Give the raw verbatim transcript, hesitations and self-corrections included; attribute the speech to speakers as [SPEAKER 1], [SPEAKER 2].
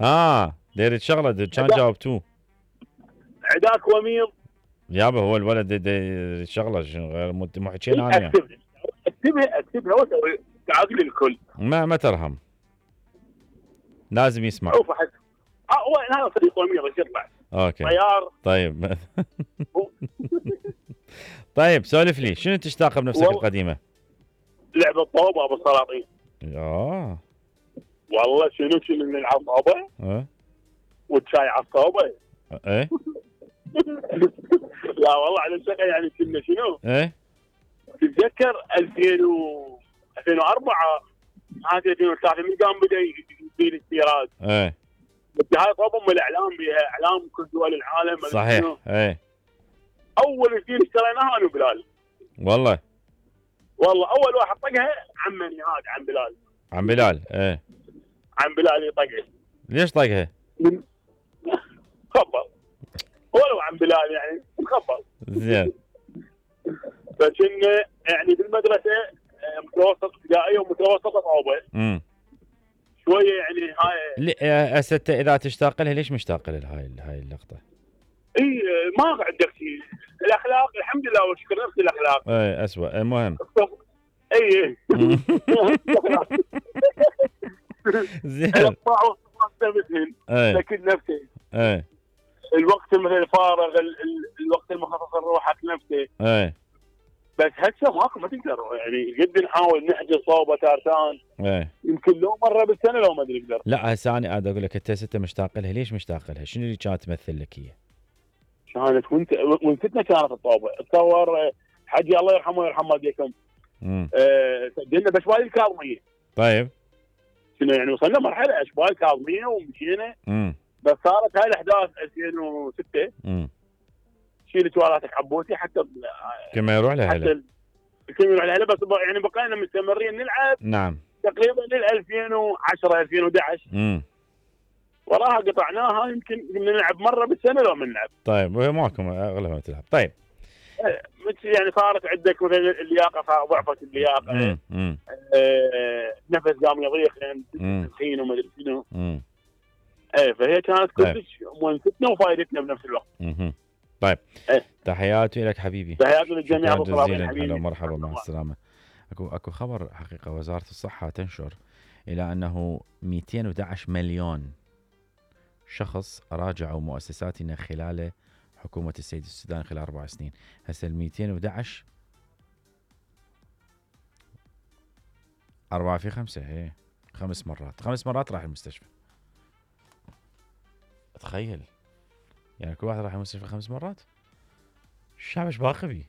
[SPEAKER 1] اه ديري شغله كان جاوبتوه.
[SPEAKER 2] عداك وميض.
[SPEAKER 1] يابا هو الولد دي شغله غير مو حكينا
[SPEAKER 2] إيه
[SPEAKER 1] انا.
[SPEAKER 2] اكتبها اكتبها اكتبها واسوي تعاقل الكل.
[SPEAKER 1] ما ما ترهم. لازم يسمع.
[SPEAKER 2] شوف احس اه هو هذا فريق وميض ايش يطلع؟
[SPEAKER 1] اوكي.
[SPEAKER 2] طيار.
[SPEAKER 1] طيب. طيب سولف لي شنو تشتاق بنفسك القديمه؟
[SPEAKER 2] لعبه طوبه ابو السلاطين.
[SPEAKER 1] اه
[SPEAKER 2] والله شنو شنو نلعب طوبه؟
[SPEAKER 1] اه
[SPEAKER 2] والشاي على الطوبه.
[SPEAKER 1] ايه
[SPEAKER 2] لا والله على الشقه يعني كنا شنو؟
[SPEAKER 1] ايه
[SPEAKER 2] تتذكر ألفين و ألفين وأربعة هذه ألفين وثلاثة من قام بدا يصير استيراد.
[SPEAKER 1] ايه
[SPEAKER 2] هاي طوبه ام الاعلام بها اعلام كل دول العالم.
[SPEAKER 1] صحيح. ايه
[SPEAKER 2] اول اثنين اشتريناها انا وبلال.
[SPEAKER 1] والله
[SPEAKER 2] والله اول واحد طقها عمني هذا عم بلال.
[SPEAKER 1] عم بلال. ايه
[SPEAKER 2] عم بلال يطقها.
[SPEAKER 1] ليش طقها؟
[SPEAKER 2] خبر ولو عم بلال يعني خبر
[SPEAKER 1] زين.
[SPEAKER 2] فكنا يعني بالمدرسه متوسط ابتدائيه ومتوسطه طوبه.
[SPEAKER 1] امم
[SPEAKER 2] شويه يعني هاي
[SPEAKER 1] هسه اذا تشتاق لها ليش مشتاق لها هاي هاي اللقطه؟
[SPEAKER 2] اي ما عندك شيء. الاخلاق الحمد لله والشكر نفس الاخلاق.
[SPEAKER 1] اي اسوء المهم.
[SPEAKER 2] اي
[SPEAKER 1] زين.
[SPEAKER 2] الطاعه مثل لكن نفسه.
[SPEAKER 1] اي
[SPEAKER 2] الوقت مثل الفارغ الوقت المخصص لروحك نفسه.
[SPEAKER 1] اي
[SPEAKER 2] بس هسه ماكو ما تقدر يعني قد نحاول نحجز صوبه تارتان.
[SPEAKER 1] اي
[SPEAKER 2] يمكن لو مره بالسنه لو ما ادري اقدر.
[SPEAKER 1] لا هسه انا اقول لك انت ست مشتاق لها ليش مشتاق لها؟ شنو اللي كانت تمثل لك هي؟
[SPEAKER 2] كانت وانت وانتنا كانت الطوبه اتصور حجي الله يرحمه ويرحم والديكم.
[SPEAKER 1] امم
[SPEAKER 2] أه سجلنا باشبال الكاظميه.
[SPEAKER 1] طيب
[SPEAKER 2] شنو يعني وصلنا مرحله اشبال الكاظميه ومشينا.
[SPEAKER 1] امم
[SPEAKER 2] بس صارت هاي الاحداث ألفين وستة.
[SPEAKER 1] امم
[SPEAKER 2] شيل توالاتك عبوسي حتى
[SPEAKER 1] كما يروح لها
[SPEAKER 2] حتى كم يروح لها بس يعني بقينا مستمرين نلعب.
[SPEAKER 1] نعم
[SPEAKER 2] تقريبا لل ألفين وعشرة ألفين وأحد عشر.
[SPEAKER 1] امم
[SPEAKER 2] وراها قطعناها يمكن نلعب مره بالسنه لو ما نلعب.
[SPEAKER 1] طيب وهي ماكو اغلبها تلعب. طيب
[SPEAKER 2] يعني صارت عندك مثلا اللياقه صار ضعفت اللياقه.
[SPEAKER 1] امم
[SPEAKER 2] آه نفس قام يضيق لان تدخين وما ادري شنو. ايه فهي كانت كلش مونستنا وفائدتنا بنفس الوقت.
[SPEAKER 1] امم طيب
[SPEAKER 2] ايه.
[SPEAKER 1] تحياتي لك حبيبي.
[SPEAKER 2] تحياتي للجميع ابو
[SPEAKER 1] جزيلا. هلا ومرحبا مع السلامه. اكو اكو خبر حقيقه وزاره الصحه تنشر الى انه مئتين وأحد عشر مليون شخص راجعوا مؤسساتنا خلال حكومة السيد السوداني خلال أربع سنين. هسه ال مئتين وأحد عشر أربعة في خمسة هي خمس مرات خمس مرات راح المستشفى. تخيل يعني كل واحد راح المستشفى خمس مرات. الشعب ايش باقي بيه؟